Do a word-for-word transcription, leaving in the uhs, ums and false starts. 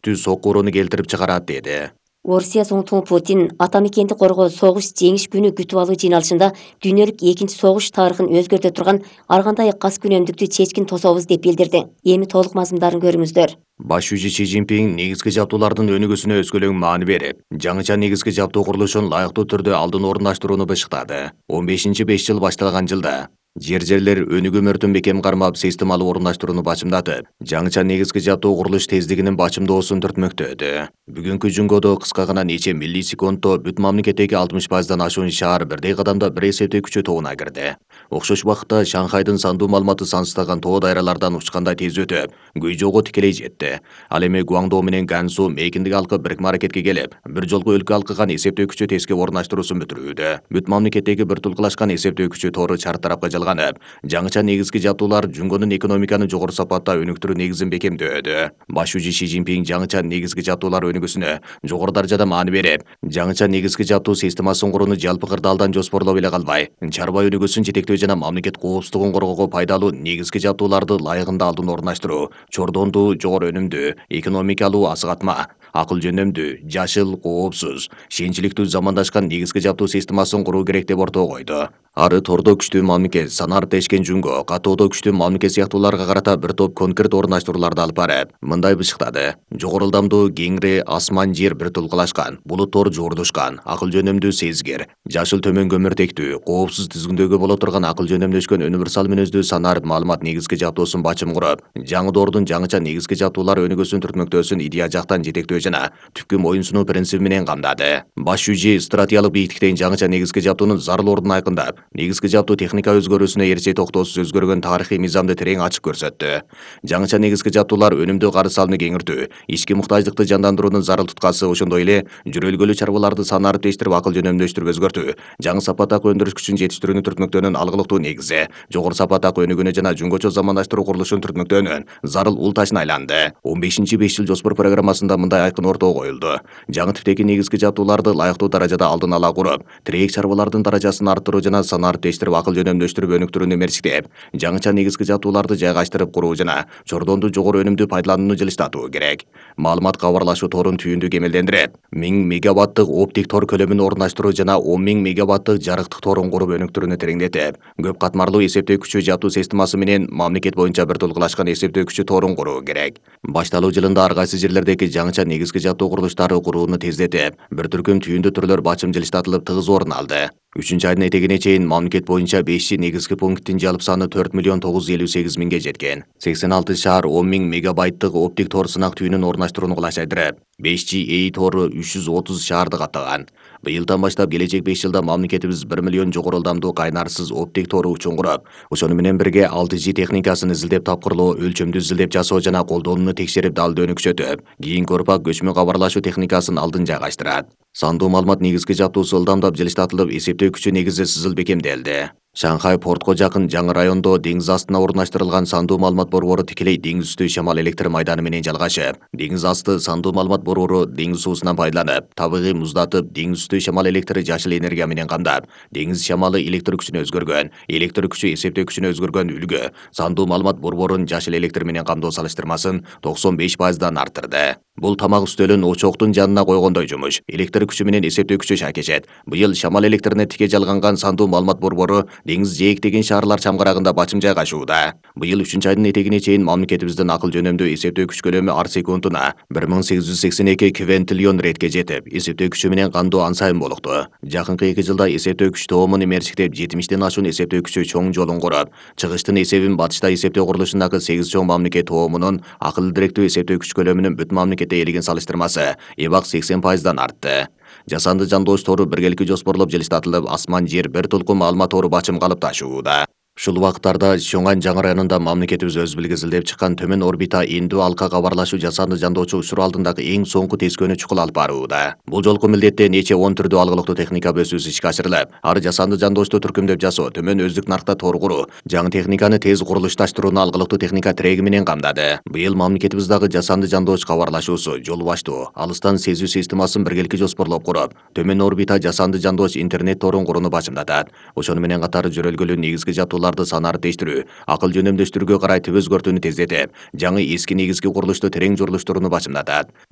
күчтүү сокурууну келтирип чыгарат деди. Орусия соңтугу Путин ата мекенди коргоо согуш жеңиш күнү күтүп алуу жыйналышында дүйнөлүк экинчи согуш тарыхын өзгөртө турган ар кандай кас күнөмдүктү чечкин тособуз деп билдирди. Эми толук мазмундарын көрүңүздөр. Баш жүзү Си Цзиньпин негизги жабдуулардын өнүгүүсүнө өзгөлөң маани берип, жаңыча негизги жабдуу курулушун лайыктуу түрдө алдын орундаштырууну бышыктады. он бешинчи беш жыл башталган жылда жер-жерлер өнүгүү мөртүн бекем кармап системалуу орундаштырууну бачымдатып, жаңыча негизги жабдуу курулуш тездигинин бачымдоосун түртмөктөдү. Бүгүнкү жөнгөдө кыска гана нече миллисекундто бүт мамлекеттеги алтымыш пайыздан ашуун шаар бирдей кадамда бир эсептөө күчү тобуна кирди. Окшош убакытта Шанхайдын сандуу маалыматы сансыздаган тоо дайралардан учкандай тез өтүп, Гуйжоого тикелей жетти. Ал эми Гуаңдоо менен Гансу мейкиндик алкып бирикме аракетке келип, бир жолку өлкө алкыган эсептөө күчү теске орундаштыруусун бүтүрүүдө. Бүт мамлекеттеги бир тулкулашкан эсептөө күчү тору чар тарапка жалганып, жаңыча негизги жабдуулар жүнгөнүн экономиканы жогору сапатта өнүктүрүү негизин бекемдөөдө. Баш жүзү Си Цзиньпин жаңыча негизги жабдуулар өнүгүүсүнө жогору даражада маани берип, жаңыча негизги жабдуу системасын курууну жалпы кырдаалдан жоспорлоп эле калбай, чарба өнүгүүсүн жетектөө жана мамлекет коопсуздугун коргоого пайдалуу негизги жабдууларды ылайыгында алдын орундаштыруу, чордондуу, жогору өнүмдүү, экономикалуу асыгатма, акыл жөнөмдүү, жашыл, коопсуз, шенчиликтүү замандашкан негизги жабдуу системасын куруу керек деп ортого койду. Ары тордо күчтүү мамлекет, санар тешкен жүнгө, катоодо күчтүү мамлекет сыяктууларга карата бир топ конкрет орундаштырууларды алып барып, мындай бышыктады. Жогору ылдамдуу, кеңири асман жер бир тулкулашкан, булуттор жуурдушкан, акыл жөнөмдүү сезгир, жашыл төмөн көмүртектүү, коопсуз тизгиндөөгө боло турган акыл жөнөмдөшкөн универсал мүнөздүү санар маалымат негизги жабдуусун бачым куруп, жаңы доордун жаңыча негизги жабдуулар өнүгүүсүн түртмөктөөсүн идея жактан жетектөө жана түпкү моюн сунуу принциби менен камдады. Баш жүзү стратегиялык бийиктиктен жаңыча негизги жабдуунун зарыл ордун айкындап, негизги жабдуу техника өзгөрүүсүнө эрче токтоосуз өзгөргөн тарыхый мыйзамды терең ачык көрсөттү. Жаңыча негизги жабдуулар өнүмдүү карыз салымын кеңиртүү, ички муктаждыкты жандандыруунун зарыл туткасы, ошондой эле жүрөлгөлүү чарбаларды санарып тештирип акыл жөнөмдөштүрүп өзгөртүү, жаңы сапаттагы өндүрүш күчүн жетиштирүүнү түртмөктөөнүн алгылыктуу негизи, жогору сапаттагы өнүгүүнү жана жүнгөчө замандаштыруу курулушун түртмөктөөнүн зарыл ул ташына айланды. он бешинчи беш жыл жоспор программасында мындай айкын ортого коюлду. Жаңы типтеги негизги жабдууларды лайыктуу даражада алдын ала куруп, тирек чарбалардын даражасын арттыруу жана санарып тештирип акыл жөнөмдөштүрүп өнүктүрүүнү мерчиктеп, жаңыча негизги жабдууларды жайгаштырып куруу жана чордондуу жогору өнүмдүү пайдаланууну жылыштатуу керек. Маалымат кабарлашуу торун түйүндү кемелдендирип, миң мегаваттык оптик тор көлөмүн орундаштыруу жана он миң мегаваттык жарыктык торун куруп өнүктүрүүнү тереңдетип, көп катмарлуу эсептөө күчү жабдуу системасы менен мамлекет боюнча бир тулкулашкан эсептөө күчү торун куруу керек. Башталуу жылында ар кайсы жерлердеги жаңыча негизги жабдуу курулуштары курууну тездетип, бир түркүм түйүндүү түрлөр бачым жылыштатылып тыгыз орун алды. үчүнчү айдын этегине чейин мамлекет боюнча бешинчи негизги пункттин жалпы саны төрт миллион тогуз жүз элүү сегиз миңге жеткен. сексен алты шаар он миң мегабайттык оптик тор сынак түйүнүн орундаштырууну кылачайдырып, беш джи эй тору үч жүз отуз шаарды каптаган. Быйылдан баштап келечек беш жылда мамлекетибиз бир миллион жогору ылдамдуу кайнарсыз оптик тору учун куруп, ошону менен бирге алты джи техникасын изилдеп тапкырлоо, өлчөмдү изилдеп жасоо жана колдонууну текшерип далдыөнү күчөтүп, кийинки урпак көчмө кабарлашуу техникасын алдын жайгаштырат. Сандуу маалымат негизги жабдуусу ылдамдап жылыштатылып, эсептөө күчү негизи сызыл бекемделди. Шанхай портко жакын жаңы райондо деңиз астына орундаштырылган сандуу маалымат борбору тикелей деңиз үстү шамал электр майданы менен жалгашып, деңиз асты сандуу маалымат борбору деңиз суусунан пайдаланып, табигый муздатып, деңиз үстү шамал электри жашыл энергия менен камдап, деңиз шамалы электр күчүнө өзгөргөн, электр күчү эсептөө күчүнө өзгөргөн үлгү сандуу маалымат борборун жашыл электр менен камдоо салыштырмасын токсон беш пайыздан арттырды. Бул тамак үстөлүн очоктун жанына койгондой жумуш. Электр күчү менен эсептөө күчү шакешет. Быйыл шамал электрине тике жалганган сандуу маалымат борбору деңиз жээктеген шаарлар чамгарагында бачым жайгашууда. Быйыл үчүнчү айдын этегине чейин мамлекетибиздин акыл жөнөмдүү эсептөө күч көлөмү ар секундуна бир миң сегиз жүз сексен эки квинтиллион ретке жетип, эсептөө күчү менен кандуу ансайын болукту. Жакынкы эки жылда эсептөө күч тоомун мерчиктеп, жетимиштен ашуун эсептөө күчү чоң жолун куруп, чыгыштын эсебин батышта эсептөө курулушундагы сегиз чоң мамлекет тоомунун акылдуу директүү эсептөө күч көлөмүнүн бүт мамлекетте элеген салыштырмасы эбак сексен пайыздан артты. Жасанды жандоош тору биргеликти жоспорлоп жылыштатылып, асман жер бир тулкун маалымат тору бачым калып ташууда. Ушул убакыттарда Чоңан жаңы районунда мамлекетибиз өз билгизилдеп чыккан төмөн орбита эндүү алка кабарлашуу жасанды жандоочу учур алдындагы эң соңку тескөөнү чукул алып барууда. Бул жолку милдетте нече он түрдүү алгылыктуу техника бөлүүсү ишке ашырылып, ары жасанды жандоочту түркүмдөп жасоо, төмөн өздүк наркта тор куруу, жаңы техниканы тез курулушташтырууну алгылыктуу техника тиреги менен камдады. Быйыл мамлекетибиз дагы жасанды жандооч кабарлашуусу, жол баштоо, алыстан сезүү системасын биргеликти жоспорлоп куруп, төмөн орбита жасанды жандооч интернет торун курууну бачымдатат. Ошону менен катар жөрөлгөлүү негизги жабдууларды санары тештирүү, акыл жөнөмдөштүрүүгө карай түп өзгөртүүнү тездетип, жаңы эски негизги курулушту терең журулуштурууну бачымдатат.